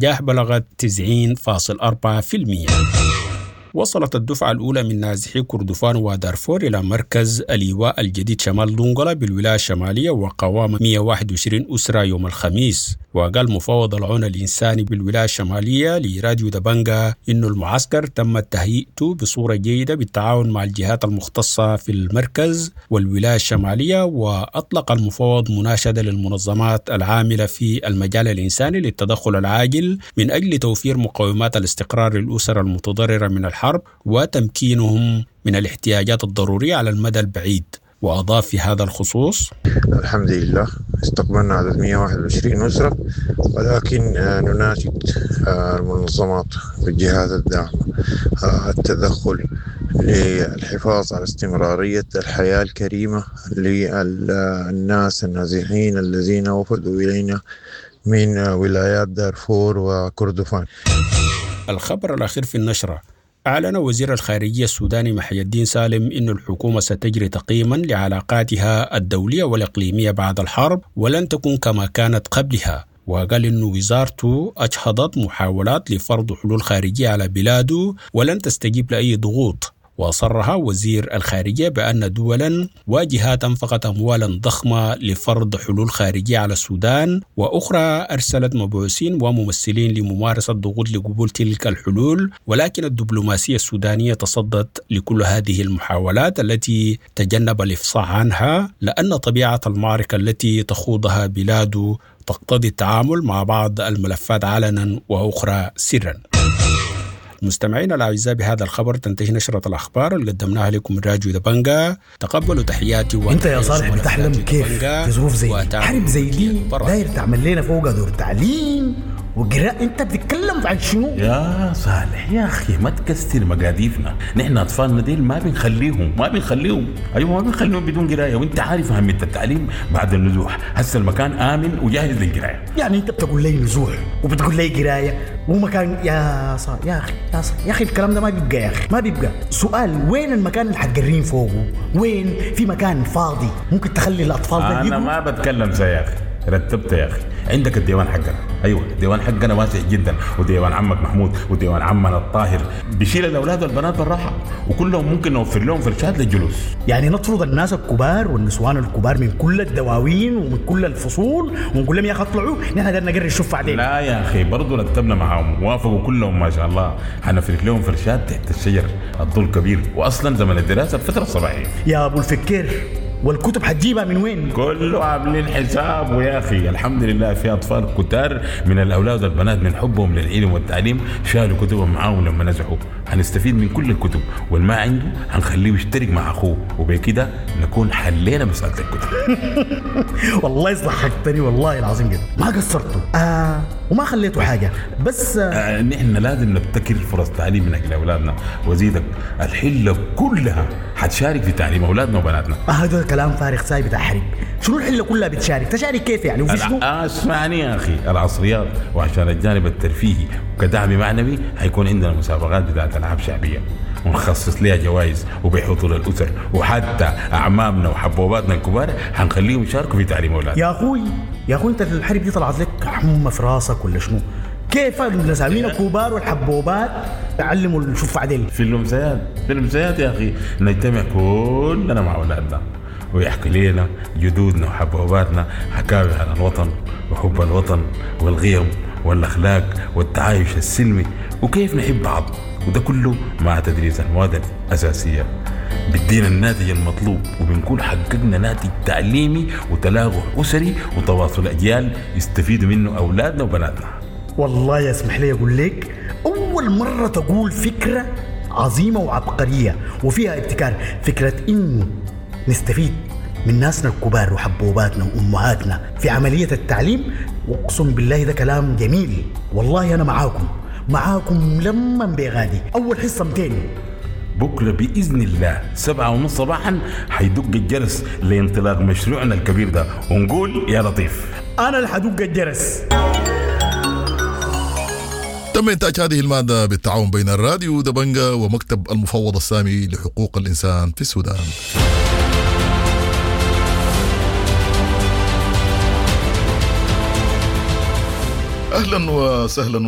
النجاح بلغت 90.4%. وصلت الدفعة الأولى من نازحي كردفان ودارفور إلى مركز الإيواء الجديد شمال دنقلة بالولاية الشمالية وقوام 121 أسرة يوم الخميس. وقال مفوض العون الإنساني بالولاية الشمالية لراديو دبنجا إنه المعسكر تم تهيئته بصورة جيدة بالتعاون مع الجهات المختصة في المركز والولاية الشمالية. وأطلق المفوض مناشدة للمنظمات العاملة في المجال الإنساني للتدخل العاجل من أجل توفير مقومات الاستقرار للأسر المتضررة من الحرب وتمكينهم من الاحتياجات الضرورية على المدى البعيد. وأضاف في هذا الخصوص: الحمد لله استقبلنا عدد 121 أسرة، ولكن نناشد المنظمات والجهات الداعمة التدخل للحفاظ على استمرارية الحياة الكريمة للناس النازحين الذين وفدوا إلينا من ولايات دارفور وكردفان. الخبر الأخير في النشرة: أعلن وزير الخارجية السوداني محي الدين سالم أن الحكومة ستجري تقييما لعلاقاتها الدولية والإقليمية بعد الحرب ولن تكون كما كانت قبلها. وقال أن وزارته أجهضت محاولات لفرض حلول خارجية على بلاده ولن تستجيب لأي ضغوط. وصرح وزير الخارجية بأن دولا وجهات أنفقت أموالا ضخمة لفرض حلول خارجية على السودان، وأخرى أرسلت مبعوثين وممثلين لممارسة ضغوط لقبول تلك الحلول، ولكن الدبلوماسية السودانية تصدت لكل هذه المحاولات التي تجنب الإفصاح عنها، لأن طبيعة المعركة التي تخوضها بلاده تقتضي التعامل مع بعض الملفات علنا وأخرى سرا. مستمعينا الاعزاء، بهذا الخبر تنتهي نشرة الاخبار اللي قدمناها لكم من راديو دبنجا. تقبلوا تحياتي. انت يا صالح بتحلم كيف في ظروف زي دي، حرب زي دي، داير تعمل لنا فوق دور تعليم وقراءة؟ انت بتتكلم عن شنو؟ يا صالح يا اخي ما تكسر مقاديفنا، نحن اطفالنا ديل ما بنخليهم، ما بنخليهم، ايوه ما بنخليهم بدون قرايه، وانت عارف اهميه التعليم بعد النزوح. هسه المكان امن وجاهز للقرايه. يعني انت بتقول لي نزوح وبتقول لي قرايه ومكان؟ يا صالح يا اخي، يا صالح يا اخي، الكلام ده ما بيبقى يا اخي، ما بيبقى. سؤال: وين المكان اللي حتقرين فوقه؟ وين في مكان فاضي ممكن تخلي الاطفال ده؟ انا ما بتكلم زي يا اخي، رتبت يا اخي. عندك الديوان حقنا، ايوه الديوان حقنا واسع جدا، وديوان عمك محمود وديوان عمنا الطاهر بيشيل الاولاد والبنات بالراحه، وكلهم ممكن نوفر لهم فرشات للجلوس. يعني نطرد الناس الكبار والنسوان الكبار من كل الدواوين ومن كل الفصول ونقول لهم يا اخي اطلعوا، نحن قدرنا نقري الشوف بعدين؟ لا يا اخي، برضه رتبنا معاهم، وافقوا كلهم ما شاء الله. حنفرش لهم فرشات تحت الشجر، الظل كبير، واصلا زمن الدراسه الفتره الصباحيه. يا ابو الفكير، والكتب حتجيبها من وين؟ كله عاملين حساب، ويا اخي الحمد لله في اطفال كتار من الاولاد والبنات من حبهم للعلم والتعليم شالوا كتبهم معاهم لما نزحوا. هنستفيد من كل الكتب، والما عنده هنخليه يشترك مع اخوه، وبكده نكون حلينا مساله الكتب. والله ضحكتني والله العظيم جدا، ما قصرتوا وما خليتوا حاجه، بس نحن لازم نبتكر فرص تعليم من اجل اولادنا، وزيدك الحله كلها حتشارك في تعليم اولادنا وبناتنا. هذا كلام فارغ ساي بتاع حرب. شنو الحله كلها بتشارك؟ تشارك كيف يعني؟ وفي شنو؟ اسمعني يا اخي، العصريات وعشان الجانب الترفيهي وكدعم معنوي حيكون عندنا مسابقات بتاعت العاب شعبيه ونخصص لها جوائز وبحضور الاسر، وحتى اعمامنا وحبوباتنا الكبار حنخليهم يشاركوا في تعليم اولادنا. يا اخوي يا اخوي، انت الحرب دي طلعت لك حمى في راسك ولا شنو؟ كيف النساوين الكبار والحبوبات تعلموا الشوف عدل؟ في الامسيات، في الامسيات يا اخي نجتمع كلنا مع اولادنا ويحكي لنا جدودنا وحبوباتنا حكاوي عن الوطن وحب الوطن والقيم والاخلاق والتعايش السلمي وكيف نحب بعض، وده كله مع تدريس المواد الاساسيه بدينا الناتج المطلوب، وبنكون حققنا ناتج تعليمي وتلاقح اسري وتواصل اجيال يستفيدوا منه اولادنا وبناتنا. والله يسمح لي اقول لك، اول مره تقول فكره عظيمه وعبقريه وفيها ابتكار، فكره انه نستفيد من ناسنا الكبار وحبوباتنا وامهاتنا في عمليه التعليم. واقسم بالله ده كلام جميل، والله انا معاكم معاكم لما بغادي. اول حصه 200 بكرة بإذن الله 7:30 صباحا حيدق الجرس لانطلاق مشروعنا الكبير ده، ونقول يا لطيف. انا اللي حدق الجرس. تم إنتاج هذه المادة بالتعاون بين الراديو دبنجا ومكتب المفوض السامي لحقوق الإنسان في السودان. أهلا وسهلا.